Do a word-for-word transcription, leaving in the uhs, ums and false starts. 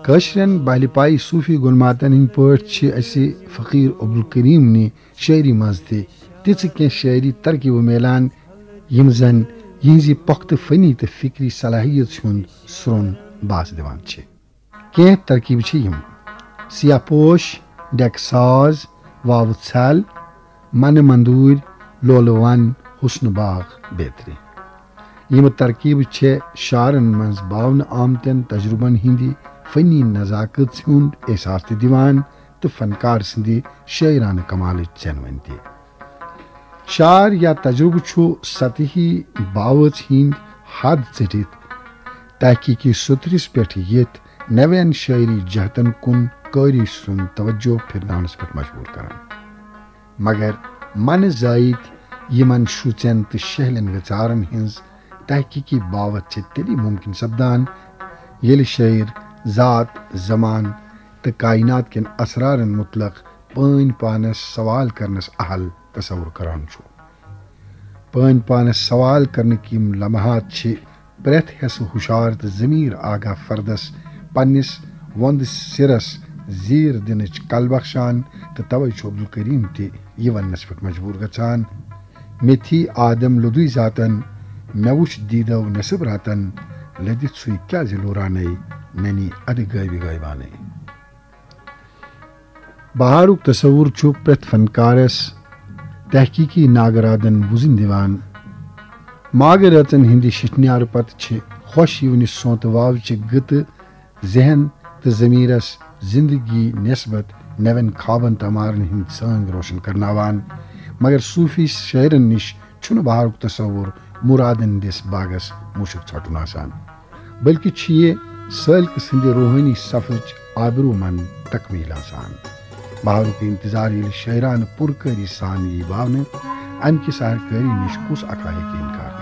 کٲشرٮ۪ن بہلہِ پایہِ صوٗفی گُلماتن ہٕنٛدۍ پٲٹھۍ چھِ اَسہِ فقیٖر عبدالکریٖم نہِ شٲعری منٛز تہِ تِژھٕ کینٛہہ شٲعری ترکیبہٕ میلان، یِم زن یِہنٛزِ پۄختہٕ فنی تہٕ فکری صلاحیژ ہُنٛد سرٛون باس دِوان چھِ۔ کینٛہہ ترکیبہٕ چھِ یِم: سیاہ پوش، ڈیکہٕ ساز، واوٕ ژھل، منہٕ مندوٗرۍ، لولہٕ ون، حسنہٕ باغ بیترِ۔ یِم ترکیبہٕ چھےٚ شعرن منٛز باونہٕ آمتٮ۪ن تجربن ہٕنٛدِ فنی نزاکت ہُنٛد احساس تہِ دِوان تہٕ فنکار سٕنٛدِ شٲعرانہٕ کمالٕچ ژینوٕنۍ تہِ۔ شعر یا تجربہٕ چھُ سطحی باوژ ہٕنٛدۍ حد ژٔٹِتھ تحقیقی سوٚتھرِس پٮ۪ٹھ یِتھ نوٮ۪ن شٲعری جہتن کُن قٲری سُنٛد توجہ پھِرناونس پٮ۪ٹھ مجبوٗر کران۔ مگر منہٕ زٲیِتۍ یِمن شُژٮ۪ن تہٕ شہلٮ۪ن وِژارن ہٕنٛز تحقیقی باوژ چھِ تیٚلی مُمکِن سپدان، ییٚلہِ شٲعر ذات، زمان تہٕ کائنات کٮ۪ن اسرارن مُتعلق پٲنۍ پانس سوال کرنس اہل تصور کران چھُ۔ پٲنۍ پانس سوال کرنٕکۍ یِم لمحات چھِ پرٛٮ۪تھ حصہٕ ہُشار تہٕ ضمیٖر آگاہ فردس پننِس وۄندٕ سِرس زیٖر دِنٕچ کل بخشان، تہٕ توے چھُ عبدالکریم تہِ یہِ وننس پٮ۪ٹھ مجبوٗر گژھان، "مےٚ تھی آدم لوٚدُے ذاتن، مےٚ وُچھ دیٖدو نصب راتن، لٔدِتھ سُے کیازِ لوٗرانَے، مےٚ نی ادٕ غٲبی غٲبانَے۔" بہارُک تصور چھُ پرٛٮ۪تھ فنکارس تحقیقی ناگرادن وُزٕنۍ دِوان۔ ماگہٕ رٲژن ہٕنٛدِ شِٹھنیارٕ پتہٕ چھِ خۄش یِونہِ سونتہٕ واوچہِ گٕتہٕ ذہن تہٕ ضمیرس زندگی نسبت نوٮ۪ن خوابن تہٕ امارن ہٕنٛدۍ ژٲنٛگۍ روشن کرناوان۔ مگر صوفی شٲعرن نِش چھُنہٕ بہارُک تصور مرادن ہٕنٛدِس باغس مُشُک ژھٹُن آسان، بلکہِ چھُ یہِ سٲلکہٕ سٕنٛدِ روحٲنی سفرٕچ آبرومند تکمیل آسان۔ بہارُک انتظار ییٚلہِ شٲعرانہٕ پُرکٲری سان یی باونہٕ، امہِ کِس ہر کٲری نِش کُس اکھا ہیٚکہِ انکار؟